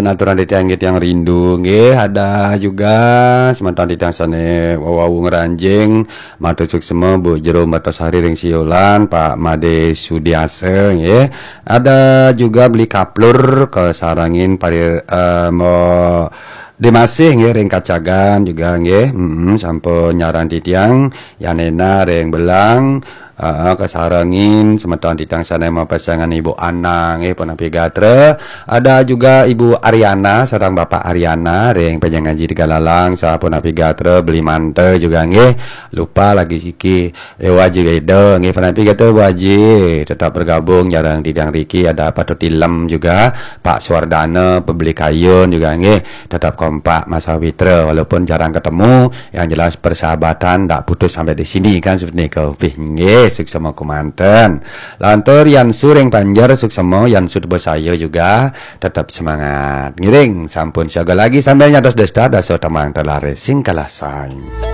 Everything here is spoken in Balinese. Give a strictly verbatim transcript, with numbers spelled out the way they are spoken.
Aturan titiang, titiang rindu nggih, ada juga semeton titiang sane wau ngranjing, matur suksma Bu Jero Mertasari ring Siolan, Pak Made Sudiasa nggih. Ada juga Beli Kaplur, kasarengin Parir, eh, mo Demasih nggih, ring Kacagan juga nggih. Mm-mm, sampun nyarengin titiang, Yanena ring Belang, eh, kasarengin semeton titiang sane mapesengan Ibu Anang nggih, punapi gatra. Ada juga Ibu Ariana sareng Bapak Ariana ring Pejangan Jiti Galalang, sapunapi gatra. Beli Manta juga nggih. Lupa lagi siki. Ewa Jiweda nggih, punapi gatra Bu Aji. Tetap bergabung nyarengin titiang riki. Ada Patut Ilem juga, Pak Suwardana, Pebeli Kayun juga nggih. Tetap kompak masawitra walaupun jarang ketemu. Yang jelas persahabatan ndak putus sampai di sini kan, seperti nggih. Suksma kemanten. Lantur Yan Su ring Banjar, suksma Yan Su Tebesaya juga, tetap semangat. Ngiring, sampun siaga lagi sambil nyantos desta, dasa tembang telaris sing kalah saing.